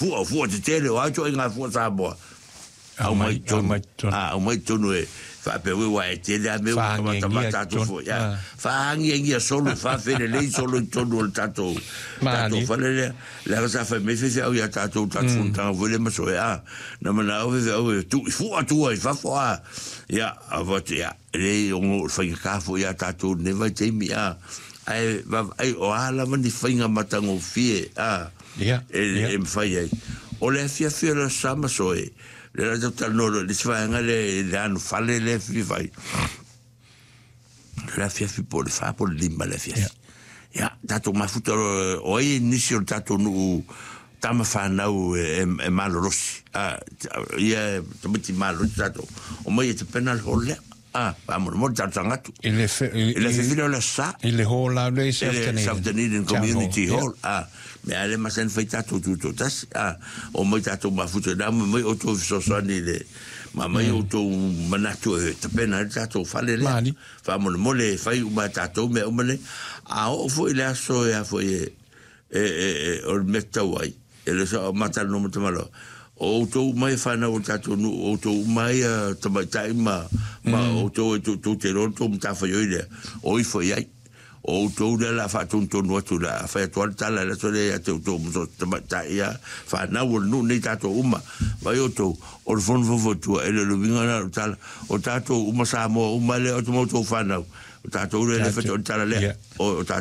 Fua, fua tetele, o a ituaiga fua Samoa? Aumai i totonu. Aumai i totonu. A, aumai i totonu e faapea ue ua e tele a mea ua Faaagiagia tamatamata atu totonu. foi. A, faaagiagia solo, faafelelei solo i totonu o le tatou, tatou Malie. fale lea. Leaga sa fai mai faifeau ia tatou, tatou fonotaga foi lea ma Soe, a, na manao faifeau e tuu i fua tua i fafo, a. Ia, a fai atu, ia, e leai ono o le faigata foi ia tatou i lenei vaitaimi, a. Ae vaavaai o a lava ni faiga matagofie, a. Ia, e, e mafai ai. O le afiafi o le Aso Sa ma Soe, lea la tatou talanoa loa i le isi vaega lea i le anofale lea e fia fai. O le afiafi po o le 4 po o le 5 le afiafi. Ia, tatou mafuta loa, o ai nisi o le tatou nuu tama fanau e, e, e malolosi. A, ia e tamaiti malolosi tatou. Omai e tapena le hall lea. A, faamolemole talosaga atu. I le, fe, i, I le afiafi lea o le Aso Sa. I le hall la le South Dunedin. South Dunedin Community Hall. A, mea lea masani fai tatou tutoatasi. A, omai tatou mafuta ina, omai outou e fesoasoani i le, ma aumai outou manatu e tapena ai le tatou fale lea. Mali. Faamolemole e fai uma e tatou mea uma nei. A oo foi i le aso e a foi e, e, e, e o le mea tatau ai, e le sao ma talanoa ma tamaloa, o outou uma ia fanau o le tatou nuu, o outou uma ia tamaitai ma, ma outou e tou te iloa le tou matafaioi lea, o ifo i ai. O outou lea o le a faatonutonu atu, o le a fai atu lava le tala i le aso lea ia te outou ma so o se tamaitai ia fanau o le nuu nei tatou uma. Vaai outou, o le fono faufautua, e le o le uiga lena o le tala, o tatou uma Samoa uma lea o ma outou fanau, o tatou lea e le fai o le tala lea, o tatou.